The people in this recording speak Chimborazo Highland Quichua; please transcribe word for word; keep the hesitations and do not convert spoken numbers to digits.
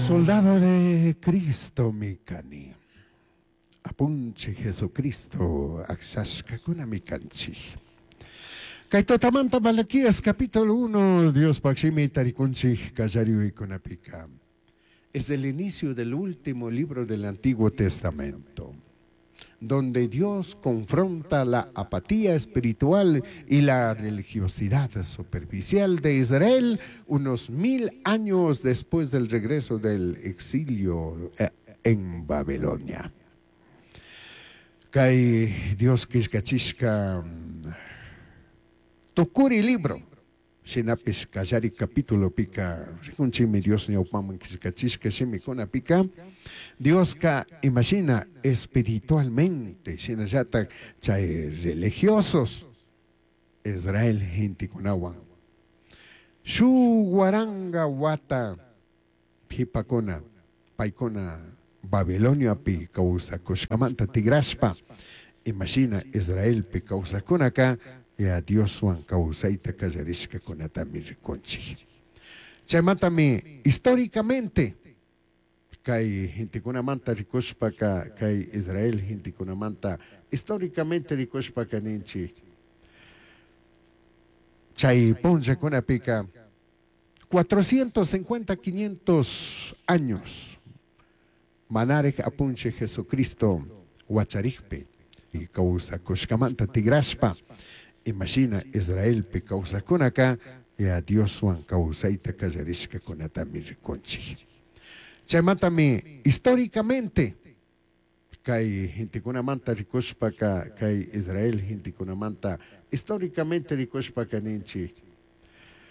Soldado de Cristo mi cani. Apunchij Jesucristo akllashkakuna kanchij. Kay tutamanta Malaquías capítulo uno, Diospaj shimita rikunchij kallariykunapika. Es el inicio del último libro del Antiguo Testamento, donde Dios confronta la apatía espiritual y la religiosidad superficial de Israel unos mil años después del regreso del exilio eh, en Babilonia. Kay Dios killkachishka tukuri libro shinapish kallari capitulopika rikunchikmi Dios ñawpaman killkachishka shimikunapika Dioska imashina espiritualmente shinallatak chay religiosos Israel gentekunawan shuk waranga wata qhipakuna paykuna Babiloniapi kawsakushkamanta tigrashpa imashina Israelpi kawsakunaka ya Dioswan kawsayta kallarishkakunatami rikunchik. Chaymantami históricamente kay gentekunamanta rikushpaka kay Israel gentekunamanta históricamente rikushpaka ninchik chay punllakunapika cuatrocientos cincuenta, quinientos años manarij apunchij Jesucristo wacharikpi y kawsakushkamanta tigrashpa imashina Israelpi kawsakunaka ya Dioswan kawsayta kallarishkakunatami rikunchik. Chaymantami históricamente kay gentekunamanta rikushpaka kay Israel gentekunamanta históricamente rikushpaka ninchik.